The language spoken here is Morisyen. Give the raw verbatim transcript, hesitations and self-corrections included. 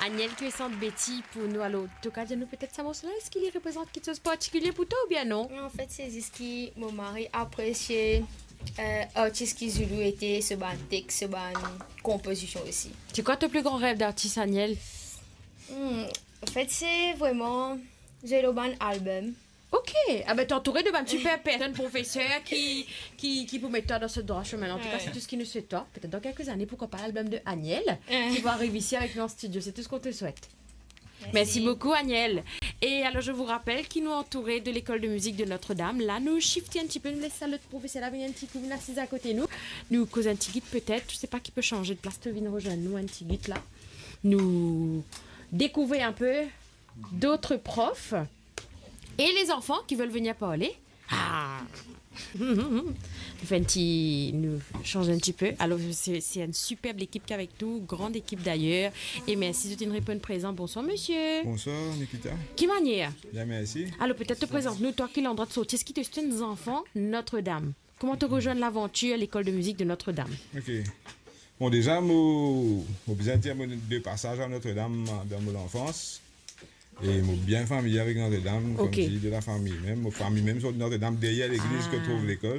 Aniel ki pe sant Betty pou nou. Alor, to kapav dir nou petet sa morso la, eski li reprezant kiksoz partikilie pou twa oubien non? An fet, se zis ki mo mari apresie euh, artis ki Zoulou ete, so bann text, so bann konpozision osi. C'est quoi ton plus grand rêve d'artiste, Aniel? Hmm, an fet, se vreman zwe lor bann album. Ok, ah ben, t'es entouré de bann super personnes, professeurs qui, qui, qui pour mettre toi dans ce droit chemin. En tout cas, c'est tout ce qui nous souhaite toi. Peut-être dans quelques années, pourquoi pas l'album de Aniel qui va arriver ici avec nous en studio. C'est tout ce qu'on te souhaite. Merci beaucoup, Aniel. Et alors, je vous rappelle ki nou antoure de l'école de musique de Notre-Dame. La, nou shifte un petit peu, nou les sal professeur la vinn un petit coup, vinn asiz akote nou. Nou koz un petit guide peut-être, je sais pas qui peut changer de place, to vinn rejoindre nous un petit guide là. Nous découvrir un peu d'autres profs et les enfants qui veulent venir parler. Ah. Nou fer un petit, nous change un petit peu. Alors, c'est, c'est une superbe équipe qui est avec nous, grande équipe d'ailleurs. Et merci de nous répondre présent. Bonsoir, monsieur. Bonsoir, Nikita. Ki manier? Bien, merci. Alors, peut-être te présente-nous, toi, quel endroit de sortie, est-ce qui te un enfant Notre-Dame? Comment tu rejoins l'aventure, l'école de musique de Notre-Dame? Ok. Bon, déjà, mo, mo bizin dir mo de passage à Notre-Dame dans mon enfance. E mo bien famiye avek Notre-Dame, Ok. Comme dire, de la famille même. Mo famiye même sur Notre-Dame, derrière l'église que trouve l'école.